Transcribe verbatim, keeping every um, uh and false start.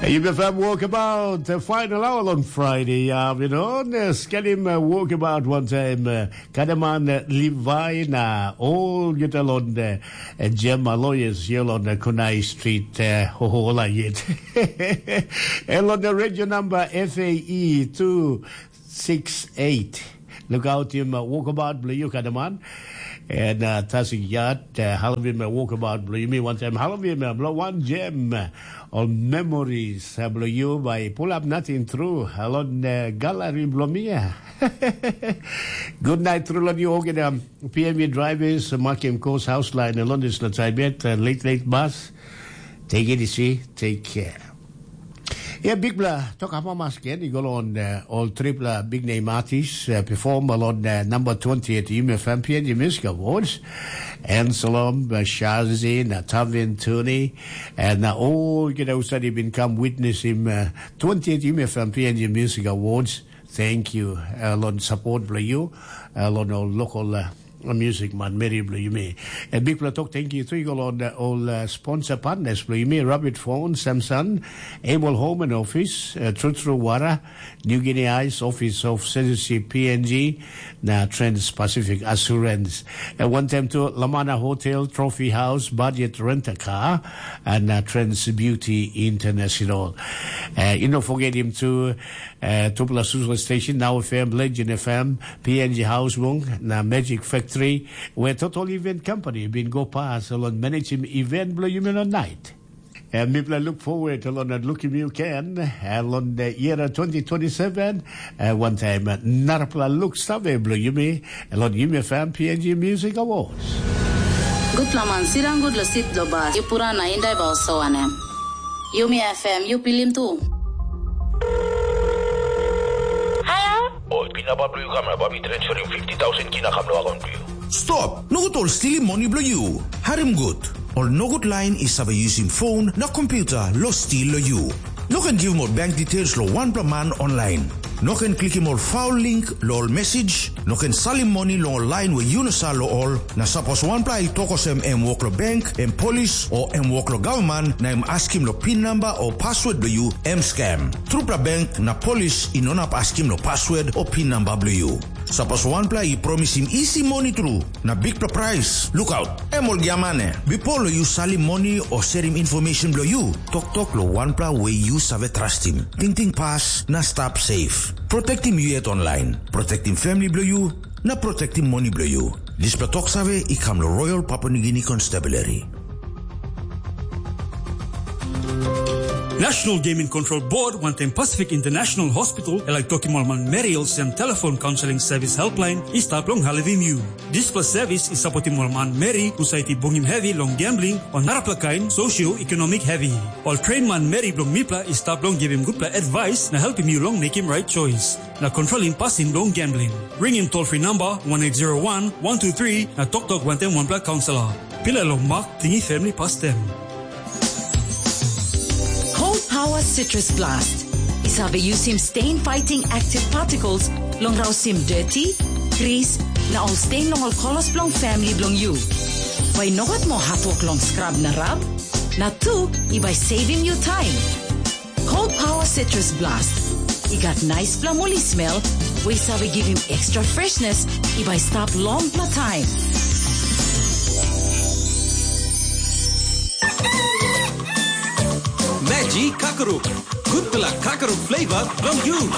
Yupefam Walkabout, uh, final hour on Friday afternoon. Uh, skelim uh, Walkabout one time. Uh, Kadaman uh, Levi na all get along the uh, Gemma lawyers here on the Kunai Street. Uh, hohola yet. And on the radio number F A E two six eight. Look out him uh, Walkabout Blue Yuka the man. And uh, Tasik Yat, uh, Halavim uh, Walkabout Blue Yumi one time. Halavim uh, Blue One Gem. Ol memories bilong yu bai pulap nating tru long galari bilong mi ya. Good night tru long yu olgeta P M V drivers, makim kos haus lain long dispela taim yet, late late bus. Take it easy, take care. Ia bikpela tok amamas gen i go long uh, ol tripla big name artists uh, perform along uh, number twenty at UMFM PNG Music Awards. Anselm, uh, Shazi, na Tavin Tuni, and uh, all you know said he been come witness him uh, twenty-eight UMFM PNG Music Awards. Thank you. Uh, long support for you, uh, long our local uh, music man, Mary Blue, you may. A big play talk, thank you. Three go on uh, all uh, sponsor partners, Blue, you may. Rabbit Phone, Samsung, Able Home and Office, uh, True True Water, New Guinea Ice, Office of Citizenship, PNG, na Trans-Pacific Assurance. At one time too, Lamana Hotel, Trophy House, Budget Rent a Car, and uh, Trans Beauty International. Uh, you know, forget him too. Uh, Tupla Susla Station, Now F M, Legend F M, PNG House Wong, na Magic Factory, where Total Event Company been go past along manage him event blow you on night. And people look forward to London looking you can, uh, London year twenty twenty-seven, uh, one time, uh, Narapla look save blow you me, London Yumi F M PNG Music Awards. Gutpela man sirang gut lo sit lo bas, yu pura na indai ba oso wanem. Yumi F M, yu pilim tu. Halo? Oi, pina ba blu yu kamera ba mi transferim fifty thousand kina kam lo akon blu yu. Stop! Nogut ol stilim moni blo yu. Harim gut. Ol nogut lain i save yusim phone na computer lo stil lo yu. No ken givim ol bank details lo wanpela man online. No ken klikim ol foul link lo ol message. No ken salim moni long ol lain we yu no sa lo ol. Na sapos wanpela i tok olsem em wok lo bank, em polis, o em wok lo gavman, na em askim lo pin namba o password blo yu, em scam. Trupela bank na polis i no nap askim lo password o pin namba blo yu. Sapos wanpela i promisim isi moni tru, na bikpela prais, lukaut, em ol giamane. Bipo lo yu salim moni o serim information blo yu, toktok lo wanpela we yu save trastim. Tingting pas na stap safe. Protektim yu yet online. Protektim family blo yu, na protektim moni blo yu. Dispela tok save i kam lo Royal Papua New Guinea Constabulary. National Game and Control Board wantaim Pacific International Hospital e laik tokim ol manmeri olsem telefon kaunseling sevis helpline i stap long helpim yu. Dispela sevis i sapotim ol manmeri husat i bungim hevi long gambling o narapela kain socio-economic hevi. Ol train manmeri bilong mipela i stap long givim gutpela advice na helpim yu long mekim right choice na kontrolim pasin bilong gambling. Ringim toll free number one eight zero one one two three na toktok wantaim wanpela kaunselor. Pilai long mak tingim family pastem. Cold Power Citrus Blast. I save yusim stain fighting active particles long rausim dirty, grease, na ol stain long ol kolos bilong family bilong yu. Bai nogat mo hatwok long scrub na rub, na tu i bai saving you time. Cold Power Citrus Blast. I gat nice plamoli smell, we save giving extra freshness, i bai stap long pla time. Magic Kakaruk. Gutpela kakaruk flavor from you.